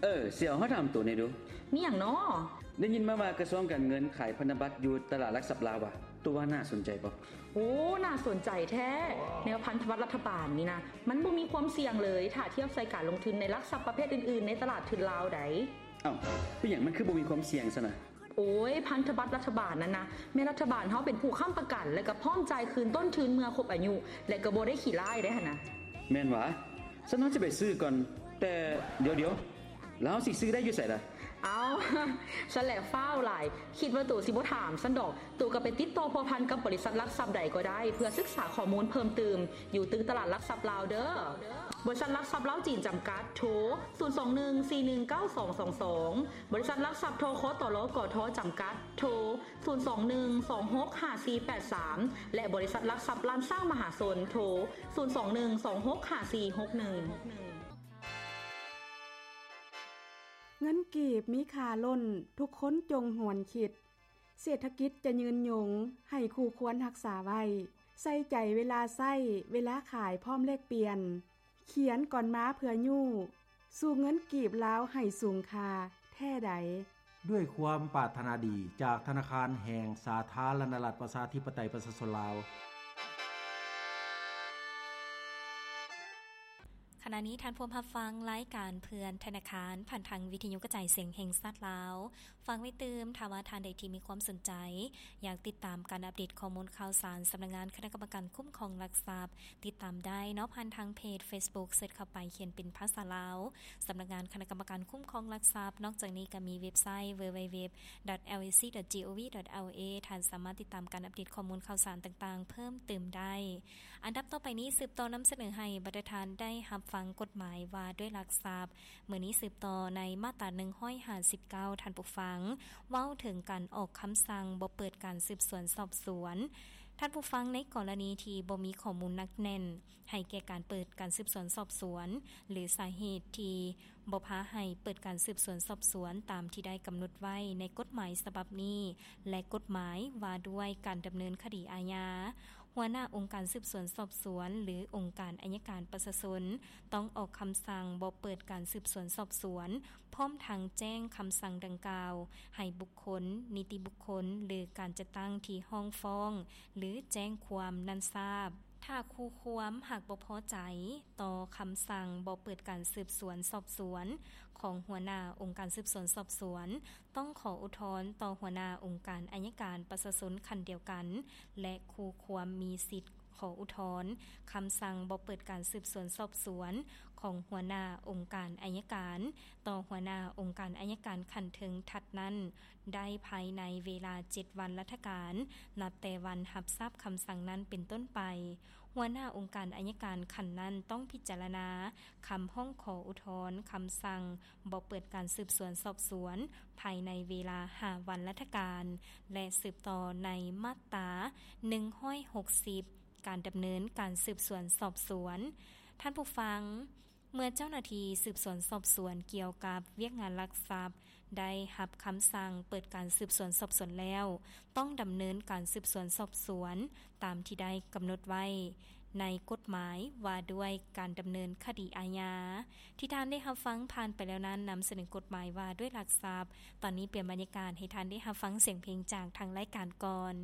ເອີ ສຽວ ເຮົາຖາມໂຕແດ່ດູ. ມີຫຍັງນໍ? ໄດ້ຍິນມາວ່າກະຊວງການເງິນຂາຍພັນທະບັດຢູ່ຕະຫຼາດຫຼັກຊັບລາວຫວາ? ໂຕວ່າໜ້າສົນໃຈບໍ່? ໂອ້ ໜ້າສົນໃຈແທ້. ແນວພັນທະບັດລັດຖະບານນີ້ນະ ມັນບໍ່ມີຄວາມສ່ຽງເລີຍ ຖ້າທຽບໃສ່ການລົງທຶນໃນຫຼັກຊັບປະເພດອື່ນໆ ໃນຕະຫຼາດທຶນລາວໃດ. ເອົ້າ ເປັນຫຍັງມັນຄືບໍ່ມີຄວາມສ່ຽງຊັ້ນນະ? ໂອ້ຍ ພັນທະບັດລັດຖະບານນັ້ນນະ ແມ່ນລັດຖະບານເຮົາເປັນຜູ້ຄ້ຳປະກັນ ແລະກະພ້ອມຈ່າຍຄືນຕົ້ນທຶນເມື່ອຄົບອາຍຸ ແລະກະບໍ່ໄດ້ຂີ້ລ້າຍເດ້ຫັ້ນນະ. ແມ່ນຫວາ? ຊັ້ນເຮົາຊິໄປຊື້ກ່ອນ. ແຕ່ດຽວໆ ແລ້ວເຮົາຊິຊື້ໄດ້ຢູ່ໃສລະ? ເອົ້າ ຊັ້ນແຫຼະຟ້າວຫຼາຍ ຄິດວ່າໂຕຊິບໍ່ຖາມຊັ້ນດອກ. ໂຕກະໄປຕິດຕໍ່ພົວພັນກັບບໍລິສັດຫຼັກຊັບໃດກໍໄດ້ ເພື່ອສຶກສາຂໍ້ມູນເພີ່ມຕື່ມ ຢູ່ຕຶກຕະຫຼາດຫຼັກຊັບລາວເດີ. ບໍລິສັດຫຼັກຊັບລາວຈີນຈຳກັດ ໂທ ສູນສອງໜຶ່ງ ສີ່ໜຶ່ງເກົ້າສອງສອງສອງ, ບໍລິສັດຫຼັກຊັບ ທຄຕລ ກທ ຈຳກັດ ໂທ ສູນສອງໜຶ່ງສອງຫົກຫ້າສີ່ແປດສາມ ແລະ ບໍລິສັດຫຼັກຊັບລ້ານຊ້າງມະຫາຊົນ ໂທ ສູນສອງໜຶ່ງສອງຫົກຫ້າສີ່ຫົກໜຶ່ງ. ເງິນກີບມີຄ່າລົ້ນ ທຸກຄົນຈົ່ງຫວນຄິດ ເສດຖະກິດຈະຍືນຍົງ ໃຫ້ຄູ່ຄວນຮັກສາໄວ້ ໃສ່ໃຈເວລາໃຊ້ ເວລາຂາຍພ້ອມແລກປ່ຽນ ຂຽນກ່ອນມາເພື່ອຍູ້ ສູ້ເງິນກີບລາວໃຫ້ສູງຄ່າແທ້ໃດ. ດ້ວຍຄວາມປາດຖະໜາດີຈາກທະນາຄານແຫ່ງສາທາລະນະລັດ ປະຊາທິປະໄຕ ປະຊາຊົນລາວ. ຂະນະນີ້ທ່ານພວມຮັບຟັງລາຍການເພື່ອນທະນາຄານ ຜ່ານທາງວິທະຍຸກະຈາຍສຽງແຫ່ງຊາດລາວ. ຝາກໄວ້ຕື່ມ ຖ້າວ່າທ່ານໃດທີ່ມີຄວາມສົນໃຈ ຢາກຕິດຕາມການອັບເດດຂໍ້ມູນຂ່າວສານ ສຳນັກງານຄະນະກຳມະການຄຸ້ມຄອງຫຼັກຊັບ ຕິດຕາມໄດ້ເນາະ ຜ່ານທາງເພຈ Facebook ເສີດເຂົ້າໄປຂຽນເປັນພາສາລາວ ສຳນັກງານຄະນະກຳມະການຄຸ້ມຄອງຫຼັກຊັບ. ນອກຈາກນີ້ກະມີເວັບໄຊ www.lac.gov.la ທ່ານສາມາດຕິດຕາມການອັບເດດຂໍ້ມູນຂ່າວສານຕ່າງໆເພີ່ມຕື່ມໄດ້. ອັນດັບຕໍ່ໄປນີ້ ສືບຕໍ່ນຳສະເໜີໃຫ້ບັນດາທ່ານໄດ້ຮັບຟັງກົດໝາຍວ່າດ້ວຍຫຼັກຊັບ. ມື້ນີ້ສືບຕໍ່ໃນມາດຕາໜຶ່ງຮ້ອຍຫ້າສິບເກົ້າ ທ່ານຜູ້ຟັງ ເວົ້າເຖິງການອອກຄຳສັ່ງບໍ່ເປີດການສືບສວນສອບສວນ. ທ່ານຜູ້ຟັງ ໃນກໍລະນີທີ່ບໍ່ມີຂໍ້ມູນໜັກແໜ້ນໃຫ້ແກ່ການເປີດການສືບສວນສອບສວນ ຫຼື ສາເຫດທີ່ບໍ່ພາໃຫ້ເປີດການສືບສວນສອບສວນຕາມທີ່ໄດ້ກຳນົດໄວ້ໃນກົດໝາຍສະບັບນີ້ ແລະ ກົດໝາຍວ່າດ້ວຍການດຳເນີນຄະດີອາຍາ, ຫົວໜ້າອົງການສືບສວນສອບສວນ ຫຼື ອົງການໄອຍະການປະຊາຊົນ ຕ້ອງອອກຄຳສັ່ງບໍ່ເປີດການສືບສວນສອບສວນ ພ້ອມທັງແຈ້ງຄຳສັ່ງດັ່ງກ່າວໃຫ້ບຸກຄົນ, ນິຕິບຸກຄົນ ຫຼື ການຈັດຕັ້ງທີ່ຮ້ອງຟ້ອງ ຫຼື ແຈ້ງຄວາມນັ້ນຊາບ. ຖ້າຄູ່ຄວາມຫາກບໍ່ພໍໃຈຕໍ່ຄຳສັ່ງບໍ່ເປີດການສືບສວນສອບສວນຂອງຫົວໜ້າອົງການສືບສວນສອບສວນ, ຕ້ອງຂໍອຸທອນຕໍ່ຫົວໜ້າອົງການໄອຍະການປະຊາຊົນຂັ້ນດຽວກັນ ແລະ ຄູ່ຄວາມມີສິດຂໍອຸທອນຄຳສັ່ງບໍ່ເປີດການສືບສວນສອບສວນຂອງຫົວໜ້າອົງການໄອຍະການຕໍ່ຫົວໜ້າອົງການໄອຍະການຂັ້ນເທິງຖັດນັ້ນໄດ້ພາຍໃນເວລາເຈັດວັນລັດຖະການ ນັບແຕ່ວັນຮັບຊາບຄຳສັ່ງນັ້ນເປັນຕົ້ນໄປ. ຫົວໜ້າອົງການໄອຍະການຂັ້ນນັ້ນຕ້ອງພິຈາລະນາຄຳຮ້ອງຂໍອຸທອນຄຳສັ່ງ ບໍ່ເປີດການສືບສວນສອບສວນພາຍໃນເວລາຫ້າວັນລັດຖະການ ແລະ ສືບຕໍ່ໃນມາດຕາໜຶ່ງຮ້ອຍຫົກສິບ ການດຳເນີນການສືບສວນສອບສວນ. ທ່ານຜູ້ຟັງ, ເມື່ອເຈົ້າໜ້າທີ່ສືບສວນສອບສວນກ່ຽວກັບວຽກງານລັກຊັບ ໄດ້ຮັບຄຳສັ່ງເປີດການສືບສວນສອບສວນແລ້ວ, ຕ້ອງດຳເນີນການສືບສວນສອບສວນຕາມທີ່ໄດ້ກຳນົດໄວ້ໃນກົດໝາຍວ່າດ້ວຍການດຳເນີນຄະດີອາຍາ. ທີ່ທ່ານໄດ້ຮັບຟັງຜ່ານໄປແລ້ວນັ້ນ ນຳສະເໜີກົດໝາຍວ່າດ້ວຍຫຼັກຊັບ. ຕອນນີ້ປ່ຽນບັນຍາກາດໃຫ້ທ່ານໄດ້ຮັບຟັງສຽງເພງຈາກທາງລາຍການກ່ອນ.